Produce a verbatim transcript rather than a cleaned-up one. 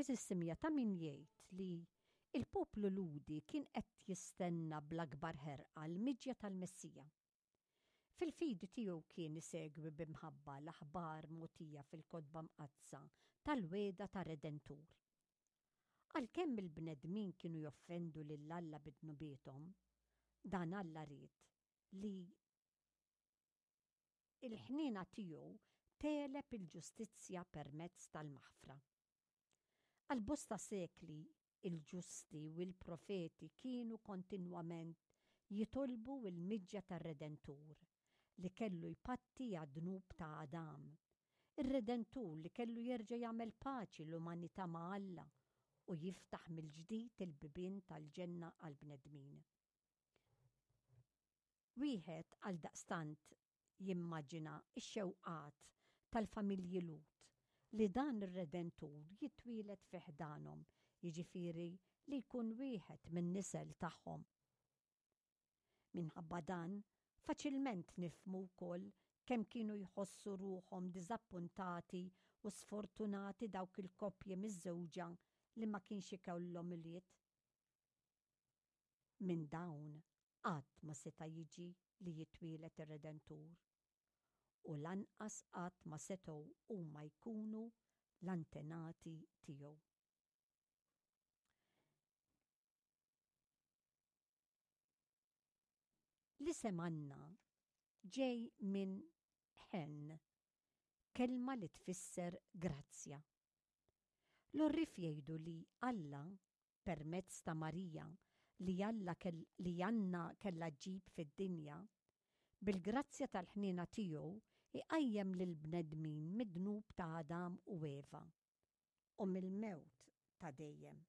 Għeżież semmiegħa, ta' min jgħid li il-poplu Lhudi kien qed jistenna bl-akbar ħerqa l-miġja tal-Messija. Fil-fidi tiegħu kien isegwi b'imħabba l-aħbar mogħtija fil-Kotba Mqaddsa tal-wegħda ta' Redentur. Għalkemm il-bnedmin kienu joffendu lil Alla bi dnubiethom, dan Alla ried li il-ħniena tiegħu tegħleb il-ġustizzja permezz tal-maħfra. Għal bosta sekli il-ġusti u l-profeti kienu kontinwament jitolbu il-miġja tar-Redentur li kellu jpatti għad-dnub ta' Adam. Ir-Redentur li kellu jerġa' jagħmel paċi l-umanità ma' Alla u jiftaħ mill-ġdid il-bibien tal-ġenna għall-bnedmin. Wieħed għaldaqstant jimmaġina x-xewqat tal-familji Lhud li dan ir-Redentur jitwieled fi ħdanhom, jiġifieri li jkun wieħed min-nisel tagħhom. Minħabba dan, faċilment nifhmu wkoll kemm kienu jħossu ruħhom diżappuntati u sfortunati dawk il-koppji miżżewġa li ma kienx ikollhom ulied. Minn dawn qatt ma seta' jiġi li jitwieled ir-Redentur u lanqas qatt ma setgħu huma jkunu l-antenati tiegħu. L-isem Anna ġej minn ħen, kelma li tfisser grazzja. L-għorrief jgħidu li Alla, permezz ta' Marija li Alla li Anna kellha ġġib fid-dinja, bil-grazzja tal-ħniena tiegħu iqajjem lill-bnedmin mid-dnub ta' Adam u Eva u mill-mewt ta' dejjem.